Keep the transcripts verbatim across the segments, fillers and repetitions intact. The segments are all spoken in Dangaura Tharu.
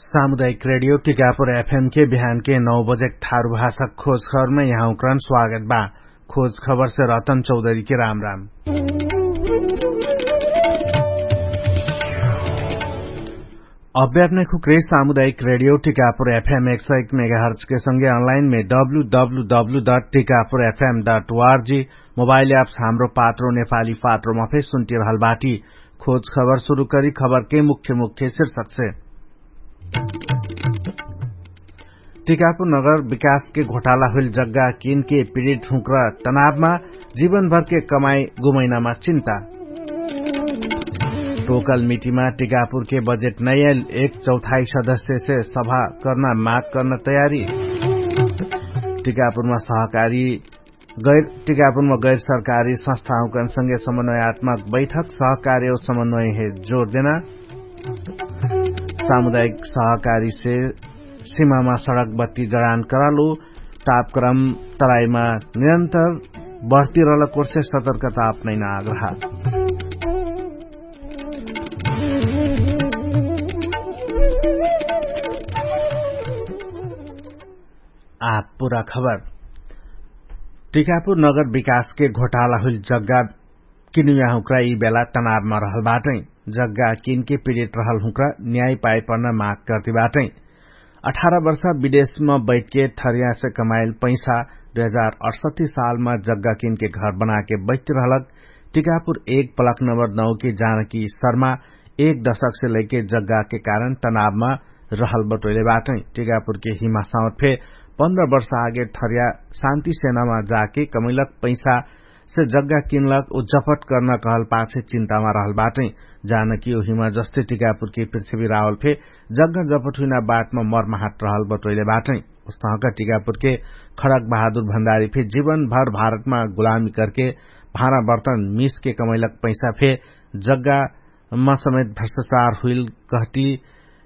सामुदायिक रेडियो टिकापुर एफएम के बिहान के नौ बजेक थारु भाषा खोज खबरमे यहाँ उक्रन स्वागत बा। खोज खबरसे रतन चौधरी के राम राम। अभ्यापने खुक्रे सामुदायिक रेडियो टिकापुर एफएम एक सय एक मेगाहर्च के संगे अनलाइन मे W W W dot Tikapur FM dot ORG mobile apps Hamro Patro नेपाली पात्रोमा फे सुन्टिरहल बाटी। खोज खबर सुरु करी खबर के मुख्य मुख्य शीर्षक से। टिकापुर नगर विकास के घोटाला हुइल जग्गा किन के पीडित हुँक्रा तनावमा जीवनभर के कमाई गुमैनामा चिन्ता। टोकल मिटिमा टिकापुर के बजेट नैयल एक चौथाई सदस्य से सभा कर्ना माग कर्ना तयारी। टिकापुरमा सहकारी गैर टिकापुरमा गैर सरकारी संस्थाहुँकन संगे समन्वयात्मक बैठक सहकारी और समन्वय हे जोर देना। सामुदायिक सहकारी से सिमामा सडक बत्ती जडान करालु। तापक्रम तराईमा निरन्तर बढ्ती रहलक ओर्से सतर्कता अपनैना आग्रह। आप पुरा खबर। टिकापुर नगर विकासके घोटाला हुइल जग्गा किनुया हुँक्रा यि बेला तनावमा रहल बाटै। जग्गा किनके पीडित रहल हुँक्रा न्याय पाइपर्न माग कर्ति बाटै। अठार वर्षा विदेशमा बैठके थरियासे कमाइल पैसा दुई हजार अठसट्ठी सालमा जग्गा किनके घर बनाके बैठति रहलक। टिकापुर एक ब्लक नम्बर नौके जानकी शर्मा एक दशकसे लैके जग्गाके कारण तनावमा रहल बटोइले बाटै। टिकापुरके हिमा साउर फे पन्ध्र वर्ष आगे थरिया शान्ति सेनामा जाके कमैलक पैसा से जग्गा किनलक उ जपट कर्ना कहल पाछे चिन्तामा रहल बाटै। जानकी उहिमा जस्ते टिकापुरके पृथ्वी रावल फे जग्गा जपट हुइना बाटमा मरमाहट रहल बटोइले बाटै। उस्तहका टिकापुरके खडक बहादुर भण्डारी फे जीवनभर भारतमा गुलामी करके भाँडा बर्तन मिसके कमैलक पैसा फे जग्गा मा समेत भ्रष्टाचार हुइल कहती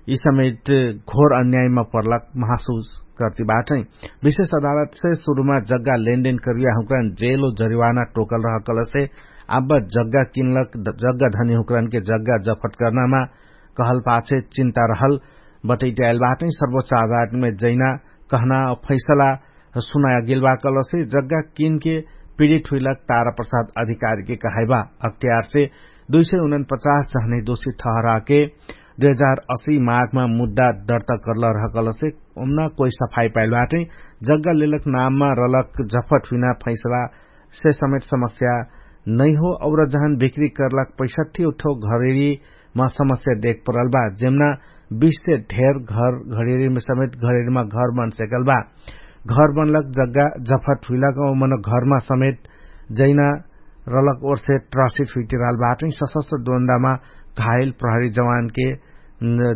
यि समेत घोर अन्यायमा पर्लक महसुस कर्ति बाटै। विशेष अदालतसे सुरुमा जग्गा लेनदेन करुया हुँक्रान जेलो जरिवाना टोकल रहकलसे आब्बा जग्गा किनलक जग्गा धनी हुँक्रानके जग्गा जफट कर्नामा कहल पाछे चिन्ता रहल बटैट्याइल बाटै। सर्वोच्च अदालतमे जैना कहना फैसला सुनाया गेलबा कलसे जग्गा किनके पीडित हुइलक तारा प्रसाद अधिकारीके कहाइबा। अख्तियारसे दुई सय उनपचास जहने दोषी ठहराके दुई हजार असी माघमा मुद्दा दर्ता कर्ल रहकलसे उम्ना कोइ सफाई पाइल बाटै। जग्गा लेलक नाममा रलक जफट हुइना फैसला से समेत समस्या नैहो और जहन बिक्री कर्लक पैसठी उठो घरेरीमा समस्या देख परल बा जेमना बिस से धेर घर घडेरीमे समेत घडेरीमा घर बन सेकल बा। घर बनलक जग्गा जफट हुइलक औ मन घरमा समेत जैना रलक ओर्से ट्रसिट हुइटिरहल बाटै। सशस्त्र दोन्दामा घाइल प्रहरी जवानके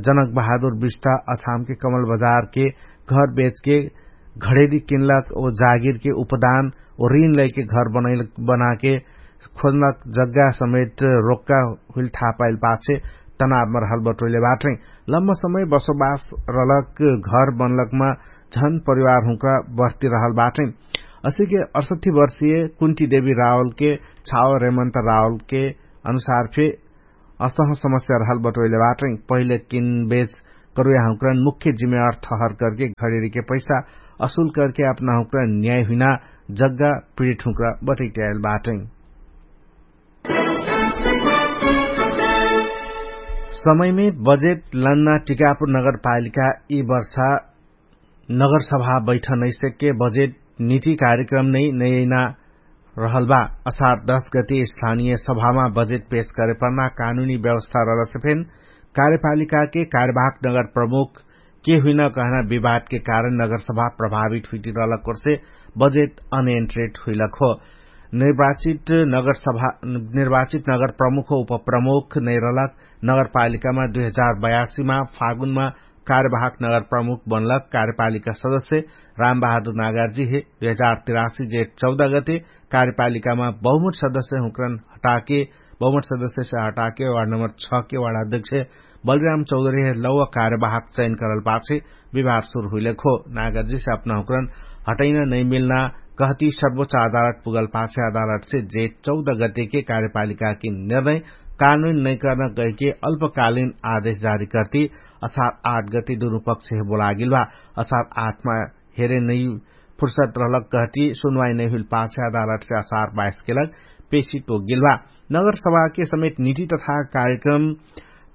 जनक बहादुर बिस्ता अछामके कमल बजारके घर बेचके घडेरी किनलक औ जागिरके उपदान औ रिन लैके घर बनाके खोज्नक जग्गा समेत रोक्का हुइल थापाइल पाछे तनावमा रहल बटोइले बाटै। लम्म समय बसोबास रलक घर बनलकमा झन परिवार हुँका बस्ती रहल बाटै। असिके अठसट्ठी वर्षीय कुन्टी देवी रावलके छाव रेमन्त रावलके अनुसार फे अस्तह समस्या रहल बटोइले बाटै। पहिले किनबेच करुया हुँकरन मुख्य जिम्मेवार ठहर करके घडेरीके पैसा असुल करके अपना हुँकरन न्याय हुइना जग्गा पीडित हुँकरा बटैट्याइल बाटै। समयमे बजेट लन्ना टिकापुर नगरपालिका यि वर्षा नगरसभा बैठनैसेके बजेट निति कार्यक्रम नै नैना रहल बा। असार दश गति स्थानीय सभामा बजेट पेश करेपर्ना कानुनी व्यवस्था रहलसे फेन कार्यपालिकाके कार्यवाहक नगर प्रमुख के हुइना कहना विवादके कारण नगरसभा प्रभावित हुइटिरहलक ओर्से बजेट अनियन्त्रित हुइलक हो। निर्वाचित नगरसभा निर्वाचित नगर प्रमुख हो उपप्रमुख नैरहलक नगरपालिकामा दुई हजार बयासीमा फागुनमा कार्यवाहक नगर प्रमुख बनलक कार्यपालिका सदस्य रामबहादुर नागार्जी हे दुई हजार तिरासी जेठ चौध गते कार्यपालिकामा बहुमत सदस्य हुँकरन हटाके बहुमत सदस्य से हटाके वार्ड नम्बर छ के वार्ड अध्यक्ष बलिराम चौधरी हे लौवा कार्यवाहक चयन करल पाछे विवाद सुरु हुइलेक हो। नागार्जी से अपना हुँकरन हटैना नैमिल्ना कहती सर्वोच्च अदालत पुगल पाछे अदालत से जेठ चौध गते के कार्यपालिका के निर्णय कानुन नैकर्न कहिके अल्पकालिन आदेश जारी कर्ति असार आठ गति दुनुपक्ष हे बोलागिल बा। असार आठमा हेरे नै फुर्सद रहलक कहति सुनवाई नैहुइल पाछे अदालतसे असार बाइस केलक पेशी तोगिल बा। नगरसभाके समेत निति तथा कार्यक्रम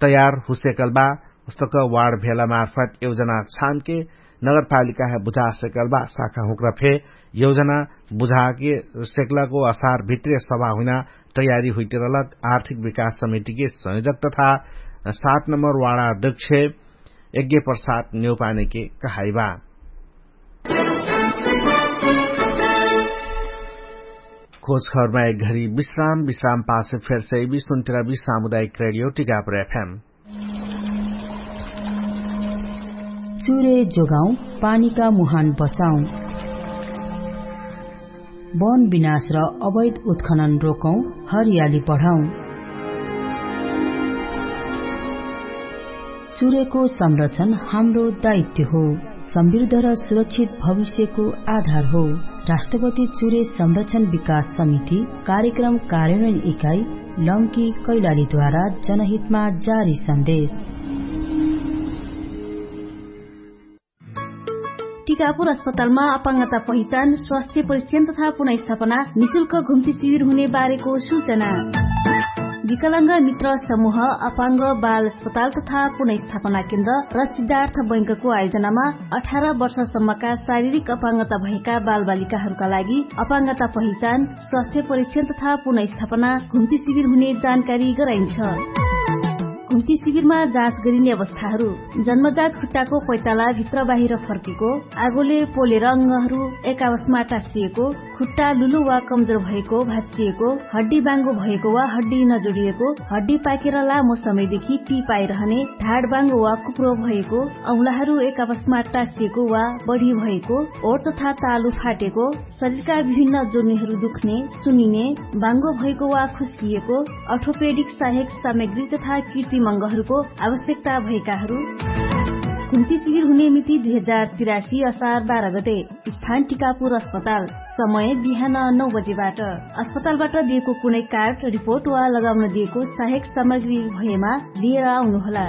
तयार हुसेकल बा। उस्तक वार्ड भेला मार्फत योजना छानके नगरपालिका हे बुझा सेकल बा। साखा हुक्रा फे योजना बुझाके सेकलको असार भित्रे सभा हुइना तयारी हुइतिरलक आर्थिक विकास समितिके संयोजक तथा सात नम्बर वाडा अध्यक्ष यज्ञ प्रसाद न्यौपानेके कहाइबा। खोजखबरमा एक घरी विश्राम विश्राम पासे फेरसे बिसुन्तिरा बि सामुदायिक रेडियो टिकापुर एफएम। चुरे जोगाउँ, पानीका मुहान बचाउँ। वन विनाश र अवैध उत्खनन रोकौँ, हरियाली बढाउँ। चुरेको संरक्षण हाम्रो दायित्व हो। समृद्ध र सुरक्षित भविष्यको आधार हो। राष्ट्रपति चुरे संरक्षण विकास समिति कार्यक्रम कार्यान्वयन इकाइ लम्की कैलालीद्वारा जनहितमा जारी सन्देश। टिकापुर अस्पतालमा अपाङ्गता पहिचान स्वास्थ्य परिक्षण तथा पुनर्स्थापना निशुल्क घुम्ती शिविर हुने बारेको सुचना। विकलङ्ग मित्र समुह अपाङ्ग बाल अस्पताल तथा पुनर्स्थापना केन्द्र र सिद्धार्थ बैंकको आयोजनामा अठार वर्षसम्मका शारीरिक अपाङ्गता भएका बालबालिकाहरूका लागि अपाङ्गता पहिचान स्वास्थ्य परिक्षण तथा पुनर्स्थापना घुम्ती शिविर हुने जानकारी गराइन्छ। घुम्ती शिविरमा जाँच गरिने अवस्थाहरू। जन्मजात खुट्टाको पैताला भित्र बाहिर फर्केको, आगोले पोलेर अङ्गहरू एकावशमा टाँसिएको, खुट्टा लुलो वा कमजोर भएको भाँचिएको, हड्डी बाङ्गो भएको वा हड्डी नजोडिएको, हड्डी पाकेर लामो समयदेखि पि पाइरहने, ढाड बाङ्गो वा कुप्रो भएको, औँलाहरू एकावशमा टाँसिएको वा बढी भएको, ओठ तथा तालु फाटेको, शरीरका विभिन्न जोर्नीहरू दुख्ने, सुनिने, बाङ्गो भएको वा खुस्किएको, अर्थोपेडिक सहायक सामग्री तथा किर्तिमङ्गहरूको आवश्यकता भएकाहरू। घुम्ती शिविर हुने मिति दुई हजार तिरासी असार बाह्र गते। स्थान टिकापुर अस्पताल। समय बिहान नौ बजेबाट। अस्पतालबाट दिएको कुनै कार्ड रिपोर्ट वा लगाउन दिएको सहायक सामग्री भएमा लिएर आउनुहोला।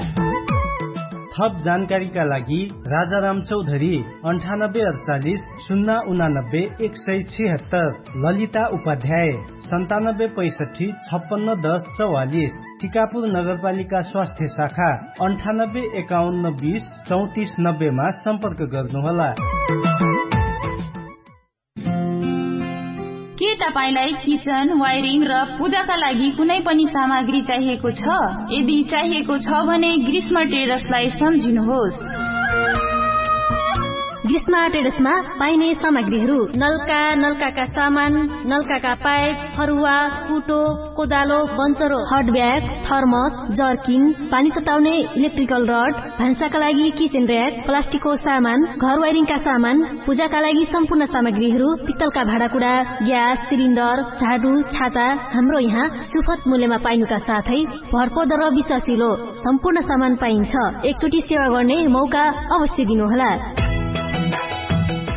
थप जानकारीका लागि राजाराम चौधरी अन्ठानब्बे अडचालिस शून्य उनानब्बे एक सय छिहत्तर, ललिता उपाध्याय सन्तानब्बे पैसठी छप्पन्न दस चौवालिस, टिकापुर नगरपालिका स्वास्थ्य शाखा अन्ठानब्बे एकाउन्न बिस चौतिस नब्बेमा सम्पर्क गर्नुहोला। के तपाईंलाई किचन वायरिङ र पूजाका लागि कुनै पनि सामग्री चाहिएको छ? यदि चाहिएको छ भने ग्रीष्म ट्रेडर्सलाई सम्झिनुहोस्। ग्रीष्म ट्रेडर्समा पाइने सामग्रीहरू नलका, नलकाका सामान, नलकाका पाइप, फरुवा, कुटो, कोदालो, बन्चरो, हट ब्याग, थर्मस, जर्किन, पानी सताउने इलेक्ट्रिकल रड, भान्साका लागि किचन र्‍याक, प्लास्टिकको सामान, घर वायरिङका सामान, पूजाका लागि सम्पूर्ण सामग्रीहरू, पित्तलका भाँडाकुडा, ग्यास सिलिन्डर, झाडु, छाता, हाम्रो यहाँ सुफत मूल्यमा पाइनुका साथै भरपर्दो र विश्वासिलो सम्पूर्ण सामान पाइन्छ। एकचोटि सेवा गर्ने मौका अवश्य दिनुहोला।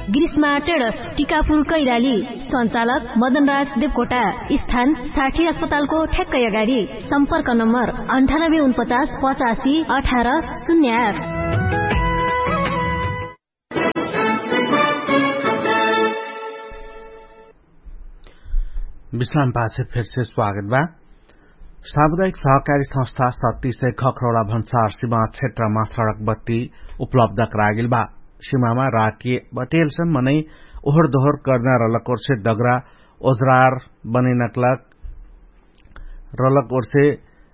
ग्रीष्मा ट्रेडर्स, टिकापुर कैलाली। सञ्चालक मदनराज देवकोटा। स्थान साठी अस्पतालको ठ्याक्कै अगाडि। सम्पर्क नम्बर अन्ठानब्बे उनपचास पचासी अठार शून्य आठ। विश्राम पाछे फेरसे स्वागत बा। सामुदायिक सहकारी संस्था सत्ती से खखरौडा भन्सार सिमा क्षेत्रमा सडक बत्ती उपलब्ध करागेल बा। सिमामा राके बटेल से मनै ओहर दोहर कर्ना रलक ओर्से दगरा ओजरार बनैनकलक रलक ओर्से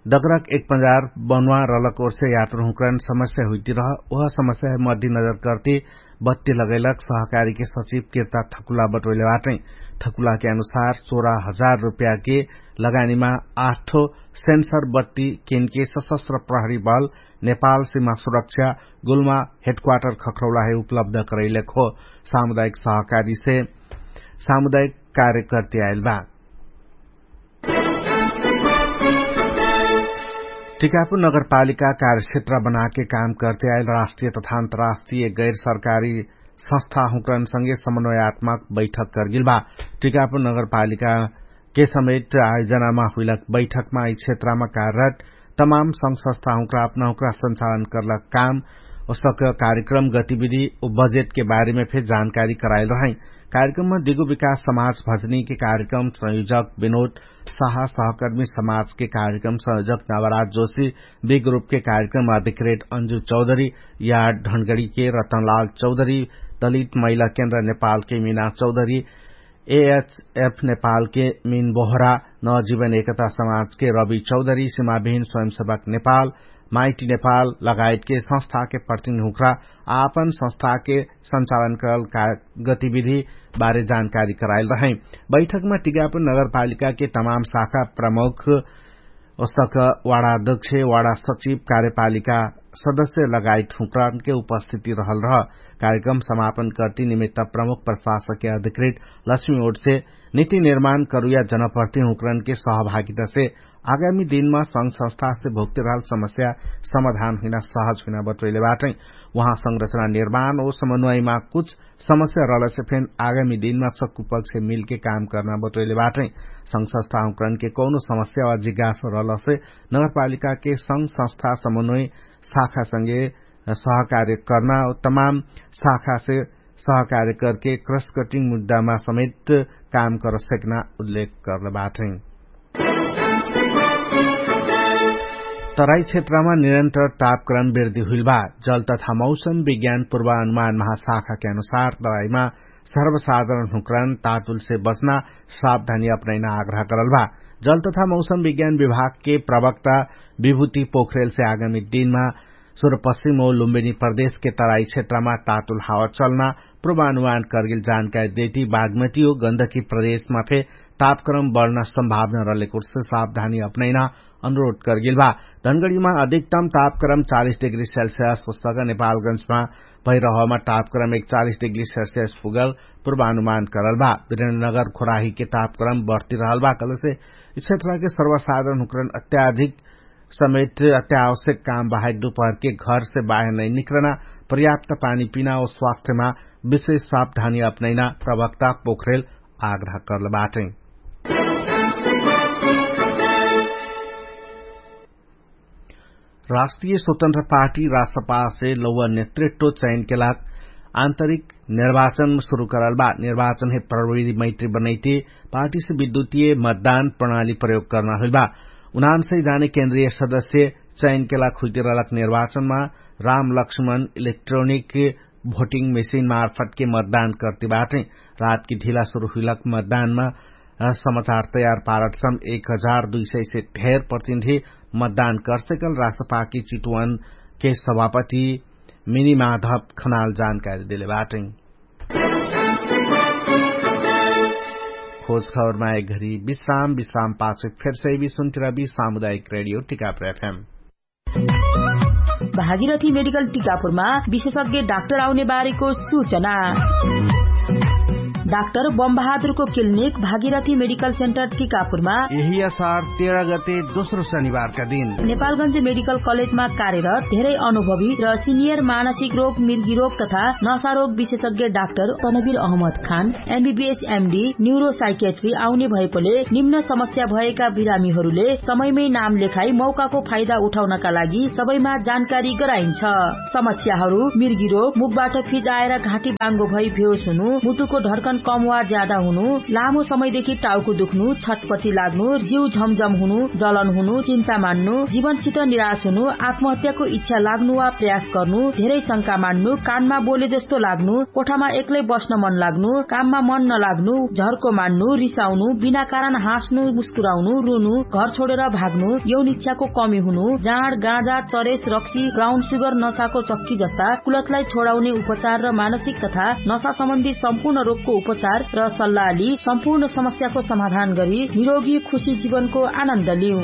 दगरक एक पजार बनुवा रलक ओर्से यात्रहुँकरन समस्या हुइतिरह। ओह समस्या मध्य नजर कर्ति बत्ती लगैलक सहकारीके सचिव किर्ता ठकुला बटोइले बाटै। ठकुलाके अनुसार सोह्र हजार रुप्याके लगानीमा आठो सेन्सर बत्ती केनके सशस्त्र प्रहरी बल नेपाल सिमा सुरक्षा गुल्मा हेडक्वाटर खखरौलाहे उपलब्ध करैलक हो। सामुदायिक सहकारीसे सामुदायिक कार्य कर्ति आइल बा। टिकापुर नगरपालिका कार्यक्षेत्र बनाके काम कर्ते आइल राष्ट्रिय तथा अन्तराष्ट्रिय गैर सरकारी संस्था हुँकरन संगे समन्वयात्मक बैठक कर्गिल बा। टिकापुर नगरपालिका के समेट आयोजनामा हुइलक बैठकमा यि क्षेत्रमा कार्यरत तमाम संघ संस्था हुँक्रा अपना हुँक्रा संचालन कर्लक काम, ओसक कार्यक्रम गतिविधि उ बजेटके बारेमे फेर जानकारी कराइल रहै। कार्यक्रममा दिगु विकास समाज भजनीके कार्यक्रम संयोजक विनोद साहा सहकर्मी समाजके कार्यक्रम संयोजक नवराज जोशी, बि ग्रुपके कार्यक्रम अधिकृत अन्जु चौधरी, यार्ड ढनगडीके रतनलाल चौधरी, दलित महिला केन्द्र नेपालके मिना चौधरी, एएचएफ नेपालके मिन बोहरा, नवजीवन एकता समाजके रवि चौधरी, सिमाविहिन स्वयंसेवक नेपाल, माइटी नेपाल लगायतके संस्थाके प्रतिनिधि हुँक्रा आपन संस्थाके संचालन करल गतिविधि बारे जानकारी कराइल रहै। बैठकमा टिकापुर नगरपालिकाके तमाम शाखा प्रमुख ओसक वाडा अध्यक्ष, वाडा सचिव, कार्यपालिका सदस्य लगायत हुँक्रानके उपस्थिति रहल रह। कार्यक्रम समापन कर्ति निमित्त प्रमुख प्रशासकके अधिकृत लक्ष्मी ओटसे निति निर्माण करुया जनप्रति हुँक्रानके सहभागितासे आगामी दिनमा संघ संस्थासे भोग्ति रहल समस्या समाधान हुइना सहज हुइना बतोइले बाटै। उहाँ संरचना निर्माण ओ समन्वयमा कुछ समस्या रहलसे फेन आगामी दिनमा सक्कु पक्ष मिलके काम कर्ना बतोइले बाटै। संघ संस्था हुँक्रानके कौनो समस्या वा जिज्ञास रहलसे नगरपालिकाके संघ संस्था समन्वय शाखासँगे सहकार्य कर्ना तमाम शाखासे सहकार्य करके क्रसकटिङ मुद्दामा समेत काम कर सेक्ना उल्लेख कर्न बाटै। तराई क्षेत्रमा निरन्तर तापक्रम वृद्धि हुइल बा। जल तथा मौसम विज्ञान पूर्वानुमान महाशाखाके अनुसार तराईमा सर्वसाधारण हुँक्रान तातुलसे बच्ना सावधानी अपनैना आग्रह करल बा। जल तथा मौसम विज्ञान विभागके प्रवक्ता विभूति पोखरेलसे आगामी दिनमा सुरपश्चिम ओ लुम्बिनी प्रदेशके तराई क्षेत्रमा तातुल हावा चल्ना पूर्वानुमान करगेल जानकारी देती बागमती ओ गन्धकी प्रदेशमा फे तापक्रम बढ्ना सम्भावना रहलेकुर्से सावधानी अपनैना अनुरोध करगेल बा। धनगडीमा अधिकतम तापक्रम चालिस डिग्री सेल्सियस पुस्तक नेपालगंजमा भैरहमा तापक्रम एकचालिस डिग्री सेल्सियस पुगल पूर्वानुमान करल बा। विरेन्द्रनगर खोराहीके तापक्रम बढ्ति रहल बा कहलेसे यि क्षेत्रके सर्वसाधारण हुँकरण अत्याधिक समेत अत्यावश्यक काम बाहेक दुपहरके घरसे बाहेर नै निक्रना पर्याप्त पानी पिना ओ स्वास्थ्यमा विशेष सावधानी अपनैना प्रवक्ता पोखरेल आग्रह कर्ल बाटै। राष्ट्रिय स्वतन्त्र पार्टी राष्ट्रपासे लौवा नेतृत्व चयनके लाग आन्तरिक निर्वाचन सुरु करल बा। निर्वाचन हे प्रविधि मैत्री बनैते पार्टीसे विद्युतीय मतदान प्रणाली प्रयोग कर्ना हुइल बा। उनान्सै जाने केन्द्रीय सदस्य चयनके लाग हुइते रहलक निर्वाचनमा राम लक्ष्मण इलेक्ट्रोनिक भोटिङ मेसिन मार्फतके मतदान कर्ति बाटै। रातकी ढिला सुरु हुइलक मतदानमा समाचार तयार पारटसम एक हजार दुई सय से ढेर प्रतिनिधि मतदान कर्सेकल राष्ट्रपाकी चितुवनके सभापति मिनी माधव खनाल जानकारी देले बाटै। खोज खबरमा एक घरी विश्राम विश्राम पाछे फेरसै भी सुन्तिरा भी सामुदायिक रेडियो टिकापुर एफएम। भागीरथी मेडिकल टिकापुरमा विशेषज्ञ डाक्टर आउने बारेको सूचना। डाक्टर बमबहादुरको क्लिनिक भागीरथी मेडिकल सेन्टर टिकापुरमा यही असार तेह्र गते दोस्रो शनिबारका दिन नेपालगञ्ज मेडिकल कलेजमा कार्यरत धेरै अनुभवी र सिनियर मानसिक रोग मिर्गी रोग तथा नसारोग विशेषज्ञ डाक्टर तनवीर अहमद खान एमबीबीएस एमडी न्युरोसाइकेट्री आउने भएकोले निम्न समस्या भएका बिरामीहरूले समयमै नाम लेखाई मौकाको फाइदा उठाउनका लागि सबैमा जानकारी गराइन्छ। समस्याहरू मिर्गी रोग मुखबाट फिजाएर घाँटी बाङ्गो भई भेउस हुनु मुटुको ढर्कन कम वा ज्यादा हुनु लामो समयदेखि टाउको दुख्नु छटपटी लाग्नु जिउ झमझम हुनु जलन हुनु चिन्ता मान्नु जीवनसित निराश हुनु आत्महत्याको इच्छा लाग्नु वा प्रयास गर्नु धेरै शंका मान्नु कानमा बोले जस्तो लाग्नु कोठामा एक्लै बस्न मन लाग्नु काममा मन नलाग्नु झर्को मान्नु रिसाउनु बिना कारण हाँस्नु मुस्कुराउनु रुनु घर छोडेर भाग्नु यौन इच्छाको कमी हुनु जाँड गाँजा चरेस रक्सी ब्राउन सुगर नसाको चक्की जस्ता कुलतलाई छोडाउने उपचार र मानसिक तथा नसा सम्बन्धी सम्पूर्ण रोगको उपचार र सल्लाह लि सम्पूर्ण समस्याको समाधान गरी निरोगी खुशी जीवनको आनन्द लिउ।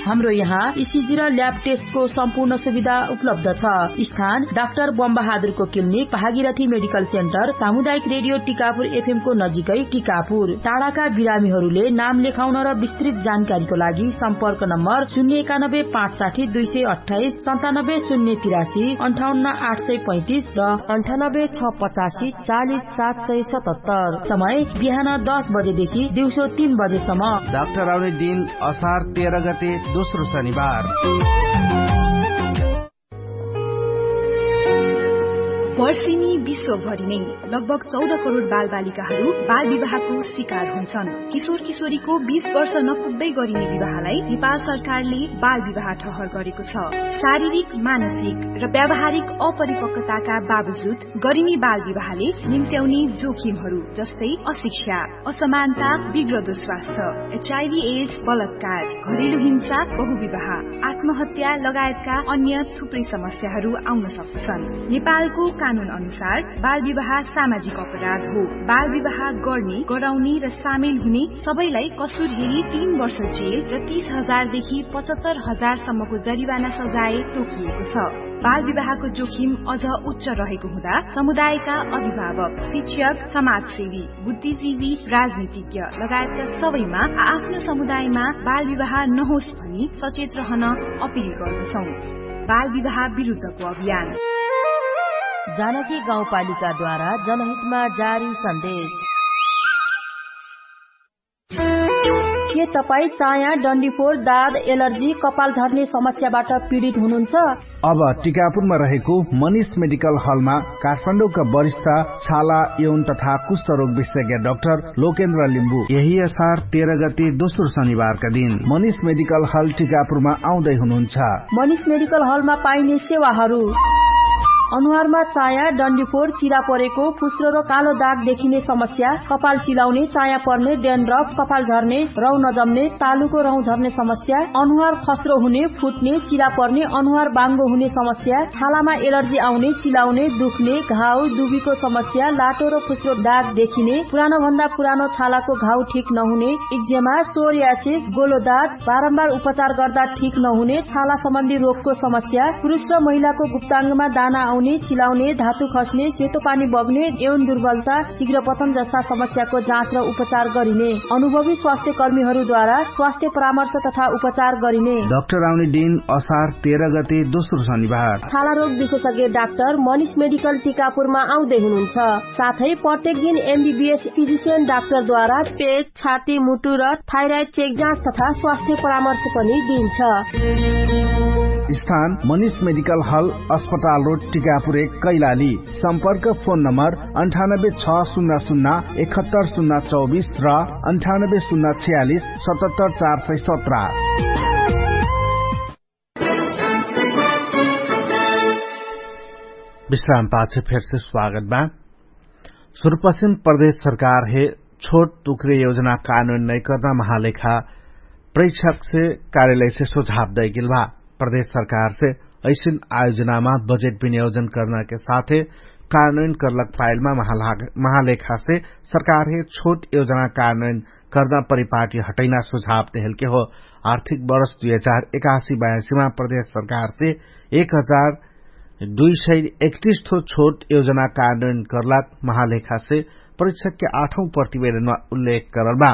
हाम्रो यहाँ इसिजी र ल्याब टेस्टको सम्पूर्ण सुविधा उपलब्ध छ। स्थान डाक्टर बमबहादुरको क्लिनिक, भागीरथी मेडिकल सेन्टर, सामुदायिक रेडियो टिकापुर एफएमको नजिकै टिकापुर। टाढाका बिरामीहरूले नाम लेखाउन र विस्तृत जानकारीको लागि सम्पर्क नम्बर शून्य एकानब्बे पाँच साठी दुई सय अट्ठाइस, सन्तानब्बे शून्य तिरासी, अन्ठाउन्न आठ सय पैँतिस र अन्ठानब्बे छ पचासी चालिस सात सय सतहत्तर। समय बिहान दस बजेदेखि दिउँसो तीन बजेसम्म। डाक्टर आउने दिन असार तेह्र गते, दोस्रो शनिबार। वर्षिनी विश्वभरि नै लगभग चौध करोड बालबालिकाहरू बालविवाहको शिकार हुन्छन्। किशोर किशोरीको बीस वर्ष नपुग्दै गरिने विवाहलाई नेपाल सरकारले बालविवाह ठहर गरेको छ। शारीरिक, मानसिक र व्यावहारिक अपरिपक्वताका बावजुद गरिने बालविवाहले निम्त्याउने जोखिमहरू जस्तै अशिक्षा, असमानता, बिग्रदो स्वास्थ्य, एचआइभी एड्स, बलात्कार, घरेलु हिंसा, बहुविवाह, आत्महत्या लगायतका अन्य थुप्रै समस्याहरू आउन सक्दछन्। नेपालको कानुन अनुसार बालविवाह सामाजिक अपराध हो। बालविवाह गर्ने, गराउने र सामेल हुने सबैलाई कसुर हेरी तीन वर्ष जेल र तीस हजार देखि पचहत्तर हजार सम्मको जरिवाना सजाय तोकिएको छ। बालविवाहको जोखिम अझ उच्च रहेको हुँदा समुदायका अभिभावक, शिक्षक, समाजसेवी, बुद्धिजीवी, राजनीतिज्ञ लगायतका सबैमा आ-, आफ्नो समुदायमा बालविवाह नहोस् भनी सचेत रहन अपिल गर्दछौँ। बालविवाह विरुद्धको अभियान। जानकी गाउँपालिकाद्वारा जनहितमा जारी सन्देश। के तपाईँ चाया, डन्डीफोर, दाद, एलर्जी, कपाल झर्ने समस्याबाट पीडित हुनुहुन्छ? अब टिकापुरमा रहेको मनिष मेडिकल हलमा काठमाडौँका वरिष्ठ छाला, यौन तथा कुष्ठरोग विशेषज्ञ डाक्टर लोकेन्द्र लिम्बू यही असार तेह्र गते दोस्रो शनिबारका दिन मनिष मेडिकल हल टिकापुरमा आउँदै हुनुहुन्छ। मनिष मेडिकल हलमा पाइने सेवाहरू: अनुहारमा चाया, डन्डीफोर, चिरा परेको, फुस्रो र कालो दाग देखिने समस्या, कपाल चिलाउने, चाया पर्ने, डेन्ड्रफ, कपाल झर्ने, रौ नजम्ने, तालुको रौ झर्ने समस्या, अनुहार खस्रो हुने, फुट्ने, चिरा पर्ने, अनुहार बाङ्गो हुने समस्या, छालामा एलर्जी आउने, चिलाउने, दुख्ने, घाउ, दुबीको समस्या, लाटो र फुस्रो दाग देखिने, पुरानो भन्दा पुरानो छालाको घाउ ठिक नहुने, इक्जेमा, सोरियासिस, गोलो दाग, बारम्बार उपचार गर्दा ठिक नहुने, छाला सम्बन्धी रोगको समस्या, पुरुष र महिलाको गुप्ताङ्गमा दाना आउने, चिलाउने, धातु खस्ने, सेतो पानी बग्ने, यौन दुर्बलता, शीघ्र पतन जस्ता समस्याको जाँच र उपचार गरिने, अनुभवी स्वास्थ्य कर्मीहरूद्वारा स्वास्थ्य परामर्श तथा उपचार गरिने। डाक्टर आउने दिन असार तेह्र गते दोस्रो शनिबार। छाला रोग विशेषज्ञ डाक्टर मनिष मेडिकल टिकापुरमा आउँदै हुनुहुन्छ। साथै प्रत्येक दिन एमबीबीएस फिजिसियन डाक्टरद्वारा पेट, छाती, मुटु र थाइराइड चेक जाँच तथा स्वास्थ्य परामर्श पनि दिइन्छ। स्थान मनिष मेडिकल हल, अस्पताल रोड, टिकापुर एक, कैलाली। सम्पर्क फोन नम्बर अन्ठानब्बे छ शून्य शून्य एकहत्तर शून्य चौबिस र अन्ठानब्बे शून्य छयालिस सतहत्तर चार सय सत्र। विश्राम पाछे फेरसे स्वागत बा। सुरुपश्चिम प्रदेश सरकार हे छोट टुक्रे योजना कानुन नैकर्ना महालेखा प्रेक्षक से कार्यालय से सुझाव दैगेल बा। प्रदेश सरकार से ऐसिन आयोजनामा बजेट विनियोजन कर्ना के साथे कानुन कर्लक फाइलमा महालेखा से सरकार हे छोट योजना कानुन कर्ना परिपाटी हटैना सुझाव देहेल के हो। आर्थिक बरस दुई हजार एकासी बयासीमा प्रदेश सरकार से एक हजार दुई सय एकतिस ठो छोट योजना कानुन कर्लाक महालेखा से परीक्षक के आठौं प्रतिवेदनमा उल्लेख करल बा।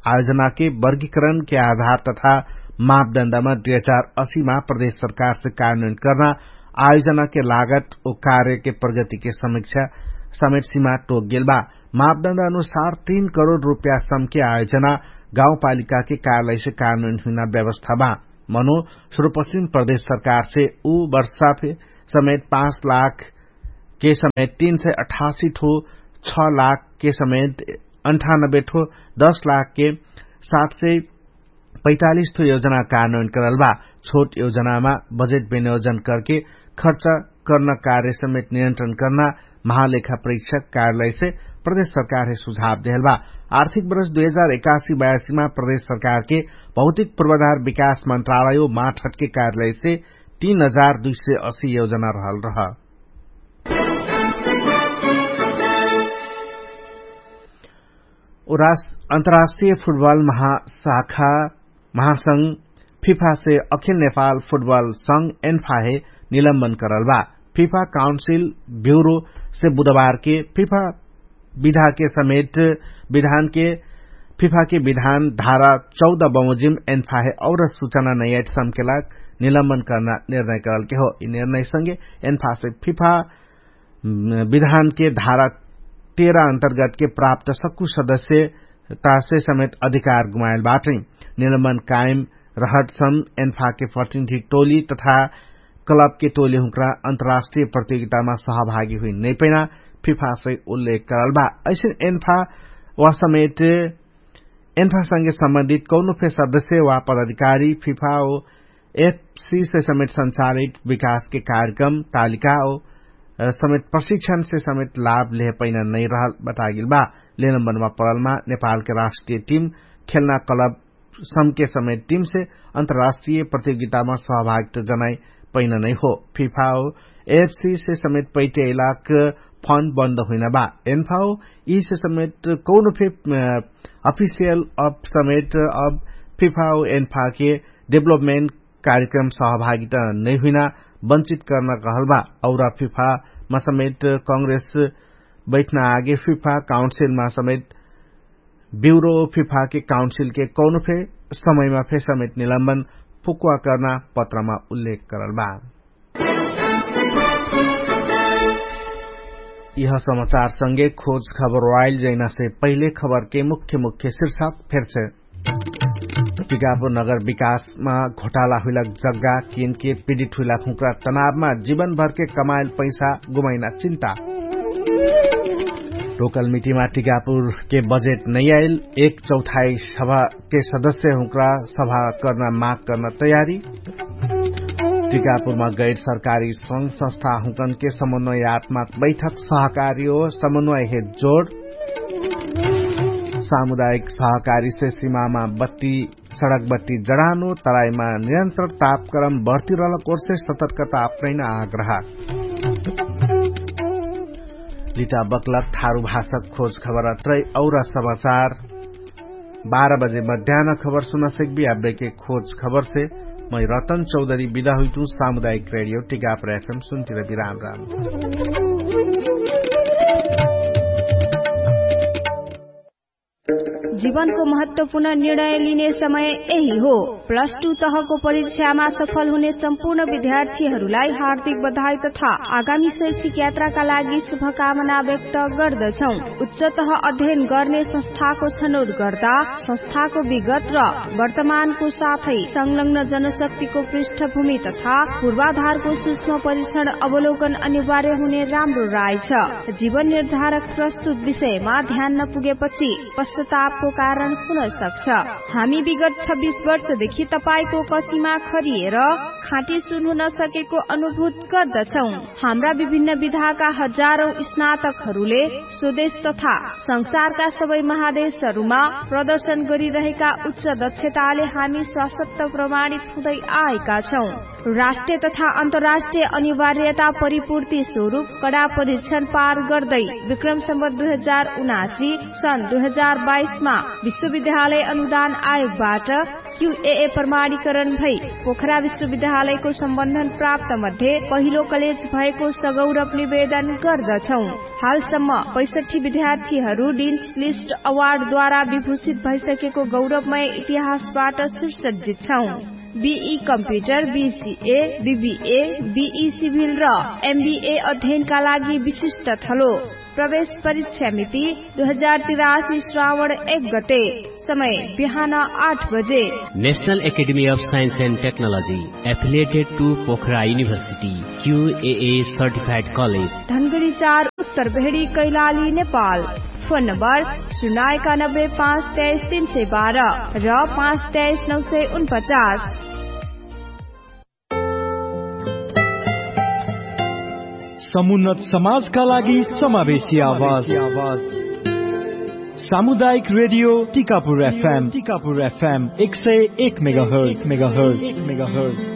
आयोजना के वर्गीकरण के आधार तथा मापदण्डमा दुई हजार असी मा प्रदेश सरकार से कानुन कर्ना आयोजना के लागत ओ कार्य के प्रगति के समीक्षा समेट सीमा टोक गेल बा। मापदण्ड अनुसार तीन करोड रुपया सम के आयोजना गाउँपालिका के कार्यालय से कानुन हुइना व्यवस्था बा। मनो सुरुपश्चिम प्रदेश सरकार से उ वर्षा फे समेत पाँच लाख के समेत तीन सय अठासी ठो छ लाख के समेत अन्ठानब्बे ठो दस लाख के सात सय पैतालिस ठो योजना कानुन करल बा। छोट योजनामा बजेट विनियोजन करके खर्च कर्न कार्य समेत नियन्त्रण कर्ना महालेखा परीक्षक कार्यालय से प्रदेश सरकार हे सुझाव देहल बा। आर्थिक बरस दुई हजार एकासी बयासीमा प्रदेश सरकार के भौतिक पूर्वाधार विकास मन्त्रालय माठहट के कार्यालय से तीन हजार दुई सय असी योजना रहल रह। अन्तर्राष्ट्रिय फुटबल महाशाखा महासंघ फिफा से अखिल नेपाल फुटबल संग एन्फाहे निलम्बन करल बा। फिफा काउन्सिल ब्युरो से बुधबार के फिफा विधा के समेट विधान के फिफा के विधान धारा चौध बमोजिम एन्फाहे और सुचना नैयाट समकेला निलम्बन कर्ना निर्णय करल के हो। यि निर्णय संगे एन्फा से फिफा विधान के धारा तेह्र अन्तर्गत के प्राप्त सक्कु सदस्य तासे समेत अधिकार गुमायल बाटै। निलम्बन कायम रहट सम एन्फा के प्रतिनिधि टोली तथा क्लब के टोली हुँक्रा अन्तर्राष्ट्रिय प्रतियोगितामा सहभागी हुइ नैपैना फिफा सै उल्लेख करल बा। ऐसन एन्फा वा समेट एन्फा संगे सम्बन्धित कौनो फे सदस्य वा पदाधिकारी फिफा ओ एफसी से समेट संचालित विकास के कार्यक्रम तालिका ओ समेट प्रशिक्षण से समेट लाभ लेह पैना नै रहल बतागिल बा। लेनम्बनमा परलमा नेपाल के राष्ट्रिय टिम खेलना क्लब समके समेत टिम से अन्तर्राष्ट्रिय प्रतियोगितामा सहभागित जनाइ पैना नै हो। फिफा ओ एफसी से समेत पैटे इलाक फन्ड बन्द हुइना बा। एन्फा ओ यि से समेत कौनो फे अफिसियल अफ समेत अब फिफा ओ एन्फा के डेभलपमेन्ट कार्यक्रम सहभागित नै हुइना बन्चित कर्ना कहल बा। और फिफा मा समेत कांग्रेस बैठना आगे फिफा काउन्सिलमा समेत ब्युरो फिफा के काउन्सिल के कौनो फे समयमा फे समेत निलम्बन फुक्वा कर्ना पत्रमा उल्लेख करल बा। यह समाचार संगे खोज खबर वाइल जैना से पहिले खबर के मुख्य मुख्य शीर्षक फेर से। टिकापुर नगर विकासमा घोटाला हुइलक जग्गा किनके पीडित हुइलक हुँक्रा तनावमा जीवनभरके कमाइल पैसा गुमाइना चिन्ता। टोकल मिटिमा टिकापुर के बजेट नैयाइल एक चौथाई सभा के सदस्य हुँक्रा सभा कर्ना माग कर्ना तयारी। टिकापुरमा गैर सरकारी संग संस्था हुँकन के समन्वयात्मक बैठक सहकारी हो समन्वय हे जोड। सामुदायिक सहकारी से सिमामा बत्ती सडक बत्ती जडानो तराईमा निरन्तर तापक्रम बढ्ती रहलक ओर्से सतर्कता अपनैना आग्रह। लिटा बक्लक थारु भाषक खोज खबर अत्रै और समाचार बाह्र बजे मध्यान खबर सुनसक्बी। आबेके खोज खबर से मै रतन चौधरी बिदा हुइतु। सामुदायिक रेडियो टिकापर एफएम सुन्तिर बिराम राम। जीवनको महत्वपूर्ण निर्णय लिने समय यही हो। प्लस टु तहको परीक्षामा सफल हुने सम्पूर्ण विद्यार्थीहरूलाई हार्दिक बधाई तथा आगामी शैक्षिक यात्राका लागि शुभकामना व्यक्त गर्दछौं। उच्चतह अध्ययन गर्ने संस्थाको छनौट गर्दा संस्थाको विगत र वर्तमानको साथै संलग्न जनशक्तिको पृष्ठभूमि तथा पूर्वाधारको सूक्ष्म परीक्षण अवलोकन अनिवार्य हुने राम्रो राय छ। जीवन निर्धारक प्रस्तुत विषयमा ध्यान नपुगेपछि पश्चातापको कारण हुन सक्छ। हामी विगत छब्बिस वर्षदेखि तपाईंको कसीमा खरिएर खाँटी सुन हुन सकेको अनुभूत गर्दछौं। हाम्रा विभिन्न विधाका हजारौं स्नातकहरूले स्वदेश तथा संसारका सबै महादेशहरूमा प्रदर्शन गरिरहेका उच्च दक्षताले हामी स्वासत्त प्रमाणित हुँदै आएका छौं। राष्ट्रिय तथा अन्तर्राष्ट्रिय अनिवार्यता परिपूर्ति स्वरूप कडा परीक्षण पार गर्दै विक्रम सम्बत दुई हजार उनासी सन् दुई हजार बाइसमा विश्वविद्यालय अनुदान आयोगबाट क्युएए प्रमाणीकरण भई पोखरा विश्वविद्यालयको सम्बन्धन प्राप्त मध्ये पहिलो कलेज भएको सगौरव निवेदन गर्दछौं। हालसम्म पैसठी विद्यार्थीहरू डिन्स लिस्ट अवार्डद्वारा विभूषित भइसकेको गौरवमय इतिहासबाट सुसज्जित छौं। BE computer BCA BBA BE civil र एमबिए अध्ययनका लागि विशिष्ट थलो। प्रवेश परीक्षा मिति दुई हजार तिरासी श्रावण एक गते। समय बिहान आठ बजे। National academy of science and technology affiliated to Pokhara university QAA certified college. Dhangadhi चार उत्तर भेडी कैलाली नेपाल। फोन नम्बर सुनाएका नब्बे पाँच तेइस तीन सय बाह्र र पाँच तेइस नौ सय उनपचास। समुन्नत समाजका लागि समावेशी आवाज। सामुदायिक रेडियो टिकापुर एफएम टिकापुर एफएम एक सय एक मेगाहर्ज मेगाहर्ज मेगाहर्ज।